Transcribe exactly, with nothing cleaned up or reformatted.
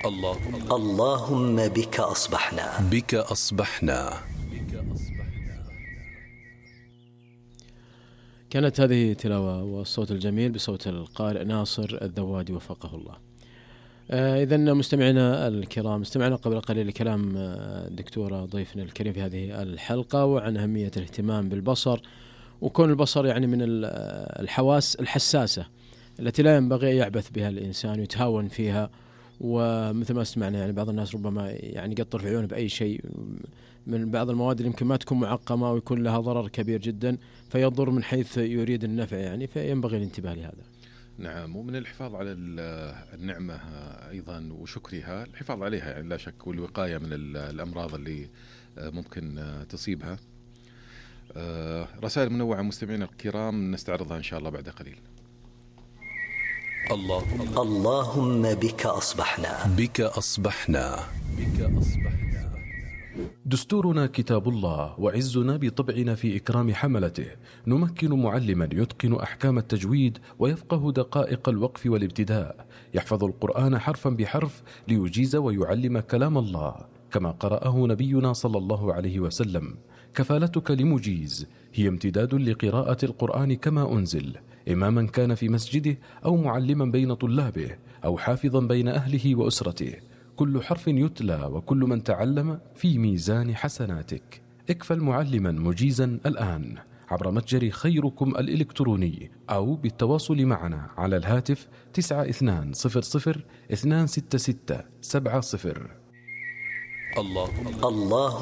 اللهم اللهم بك أصبحنا بك أصبحنا. كانت هذه تلاوة والصوت الجميل بصوت القارئ ناصر الذوادي وفقه الله. آه إذن مستمعنا الكرام، استمعنا قبل قليل لكلام الدكتورة ضيفنا الكريم في هذه الحلقة وعن أهمية الاهتمام بالبصر، وكون البصر يعني من الحواس الحساسة التي لا ينبغي أن يعبث بها الإنسان ويتهاون فيها. ومثل ما سمعنا يعني بعض الناس ربما يعني يقطر في عيونه بأي شيء من بعض المواد اللي يمكن ما تكون معقمة ويكون لها ضرر كبير جدا فيضر من حيث يريد النفع، يعني فينبغي الانتباه لهذا. نعم، ومن الحفاظ على النعمة أيضا وشكرها الحفاظ عليها يعني لا شك، والوقاية من الأمراض اللي ممكن تصيبها. رسائل منوعة مستمعين الكرام نستعرضها إن شاء الله بعد قليل. اللهم اللهم بك أصبحنا بك أصبحنا بك أصبحنا. دستورنا كتاب الله، وعزنا بطبعنا في إكرام حملته. نمكن معلما يتقن أحكام التجويد ويفقه دقائق الوقف والابتداء، يحفظ القرآن حرفا بحرف ليجيز ويعلم كلام الله كما قرأه نبينا صلى الله عليه وسلم. كفالتك لمجيز هي امتداد لقراءة القرآن كما أنزل، إماما كان في مسجده أو معلما بين طلابه أو حافظا بين أهله وأسرته. كل حرف يتلى وكل من تعلم في ميزان حسناتك. اكفل معلما مجيزا الآن عبر متجر خيركم الإلكتروني أو بالتواصل معنا على الهاتف تسعة اثنان صفر صفر اثنان ستة ستة سبعة صفر. اللهم اللهم